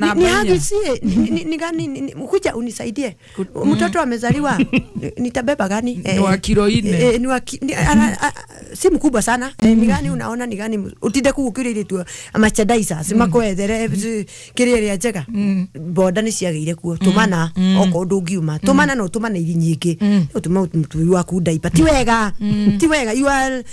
Ni hagi ni gani kuja unisaidie. Mtoto amezaliwa nitabeba gani? Ni wa kilo 4. Ni wa si mkubwa sana. Ni gani unaona ni gani utinde kugukirire tu merchandise simakwethere kiria njega. Boda ni ciagire kuo tumana oko ndungiuma tumana no tumana iri nyingi utuma mtu waku ndaipa ti wega ti wega you are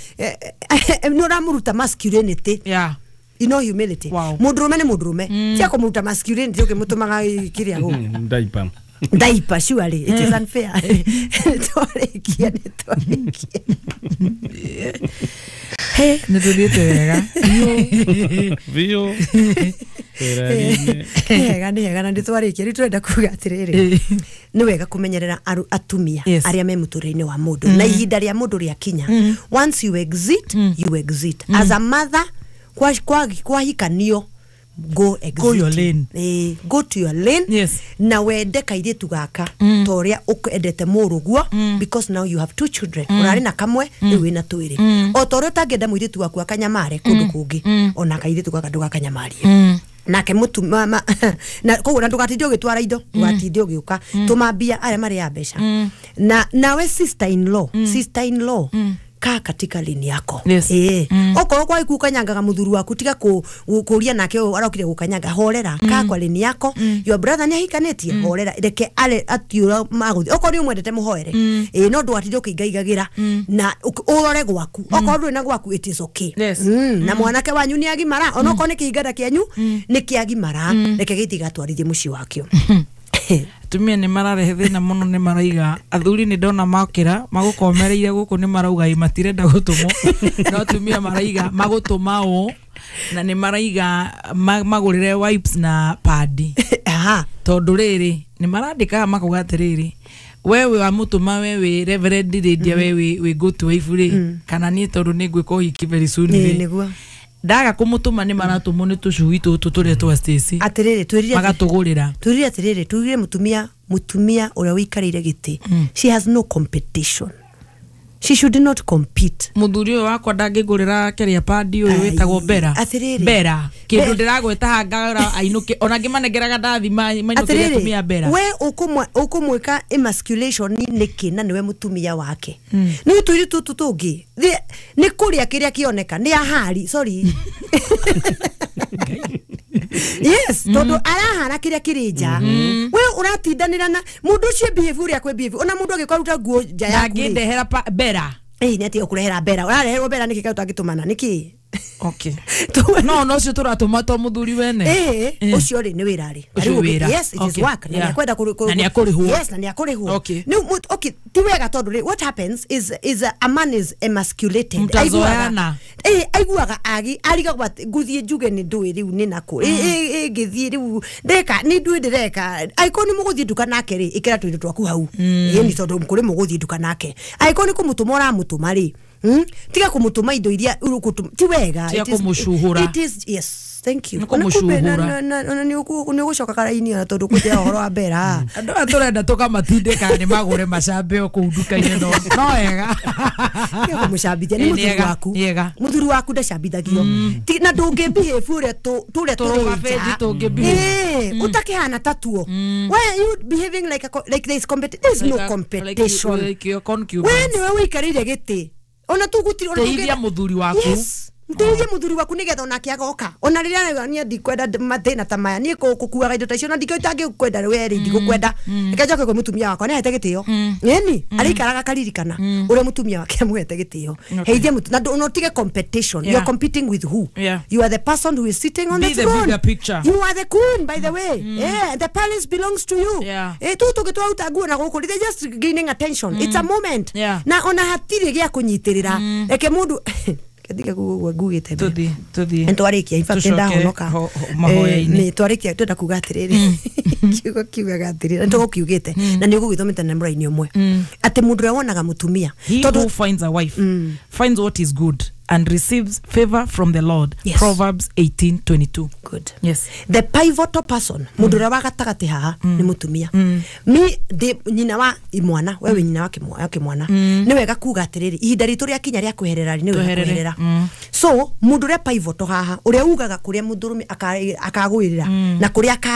no ramuruta masculinity. Yeah. You know humility. Wow. Mundurume ni mundurume. Tia kumuruta masculinity ukimutumaga kiria guku. Ndaipa. Ndaipa surely it is unfair. Twarikia ni twarikia. Hey, nituthiite wega. Vio. Hega ni hega na nditwarikia riu turenda kuga atiriri. Ni wega kumenyerera atumia aria me muturire-ini wa mundu na ihinda ria mundu ria kinya. Once you exit, you exit. As a mother kwa hikanio go exit. Go your lane. Go to your lane. Yes. Na wende kairitu gaka toria ukwendete muruguo because now you have two children. Urari na kamwe riu wina twiri. O toria utangenda muiritu waku akanyamare kundu kungi ona kairitu gaka ndugakanyamarie. Nake mutu mama na koguo na ndugatinde ugitwara indo ndugatinde ugiuka tumambia aria mari ya mbeca na nawe sister in law sister in law ka katika lini yako. Yes. Okorwo kwa ikukanyangaga muthuri waku tiga kuria nake arokire gukanyanga horera ka kwa lini yako. Your brother ni ahikanetie horera reke ale atiura maguthi okorwo ni umwendete muhoere no ndwatinde ukiingaigagira na urore gwaku okorwo nduri na gwaku it is okay. Yes. Na mwanake wanyu ni agimara ona okorwo ni kihinganda kianyu ni kiagimara reke gitigatwarithie mucii wakio. Atumia nĩ mararehe thĩna mũno nĩ maraiga athuri nĩ ndona makĩra magũkomereire gũkũ nĩ marauga matirenda gũtũmwo no atumia maraiga magũtũma ũ na nĩ maraiga magũrĩre wipes na padi. Aha. Tondũ rĩrĩ nĩ marandĩkaga makauga atĩrĩrĩ wewe wa mũtũma wewe reverend Lydia wewe wĩ go to wife rĩ kana niĩ tondũ nĩ ngwĩka ũhiki very soon rĩ nĩguo ndaga kumutuma ni maratumwo ni tucui tutu turia twa Stacy atiriri twirire magatugurira twirire atiriri twirire mutumia uria wikarire giti. She has no competition. She should not compete. Muthuri uyu wakwa ndangigurira kiria padi uyu witagwo Bera. Atiriri Bera kindu ndiragweta hangara ainuke ona ngimanengeraga ndathi mainuke atumia Bera. We ukumwika emasculation niki na niwe mutumia wake. Ni twiri tutu tungi ni kuria kiria kioneka ni ahari sorry. Yes, tondu arahara kiria kiri nja. We uratindanira na mundu ucio behave uria kwe behave ona mundu agikwaruta nguo nja yaku ndangindehera Bera. Ni ati ukurehera Bera urareherwo Bera niki utangĩtũmana niki. Okay. No ucio turatũma to muthuri wene. Ucio ri ni wira ri. Yes, it is work. Na niakwenda na niakurihwo. Yes, na niakurihwo. Okay. Ni okay, ti wega tondu ri what happens is a man is emasculated. Mtazoeana. Aiguaga agi arigagwa nguthie njuge ni ndui riu ni naku. Ngithie riu ndeka ni ndui ndireka. Aiko ni muguthie nduka nake ri ikira tuindo twaku hau. Ni tondu kuri muguthie nduka nake. Aiko ni kumutuma uramutuma ri. Tiga kumutuma indo iria urukutuma ti wega. Tiga kumucuhura. It is yes, thank you. Kumucuhura. Na ni ugucoka karaini ona tondu kutia uhoro wa Bera. Andu aya turenda tukamatindika ni magure macambe o kuu nduka-inĩ no wega. Tiga kumucambithia ni muthuri waku. Muthuri waku ndacambithagio. Na ndungi behave uria turia tũrũga. Utakihana tatuo. Why are you behaving like like there is competition? There is no competition. Like your concubines. We niwe wikarire giti. Ona tugutiri ona teithia muthuri waku. Yes. Nteithia muthuri waku nigetha onake agoka. Ona riria ni ndikwenda mathina ta maya ni kukuaga indo ta icio na ndingĩkwenda we ri ndigukwenda. Reke njoke kwĩ mutumia wakwa nĩahete gĩtĩo. Ĩni arĩikaraga akaririkana ũrĩa mutumia wake amuhete gĩtĩo. Heithia mutu na utige competition. You are competing with who? You are the person who is sitting on the throne. Be the bigger picture. You are the queen, by the way. Yeah, the palace belongs to you. Tũngĩtwaruta nguo na gũkũ they're just gaining attention. It's a moment. Na ona hatirĩ gĩa kũnyitĩrĩra. Reke mũndũ Katika ngugite tuthi ntwarikia in fact ndahonoka mahoya-inĩ twarikia twenda kuga atiriri kiugo kiugaga atiriri ntugukiugite na ni ugugithomete na muraini umwe ati mundu uria wonaga mutumia tondu who finds a wife finds what is good and receives favor from the Lord. Yes. Proverbs 18:22. Good. Yes. The pivotal person, mundu uria wa gatagati haha, ni mutumia. Mi ndi nyina wa imwana, wewe nyina wa kimwana, ni wega kuga atiriri, ihinda ritu ria kinya ria kweherera, ni wega Tweherere. kweherera. So mundu uria pivotal haha, uria ugaga kuria mundurume akagwirira na kuria akaro.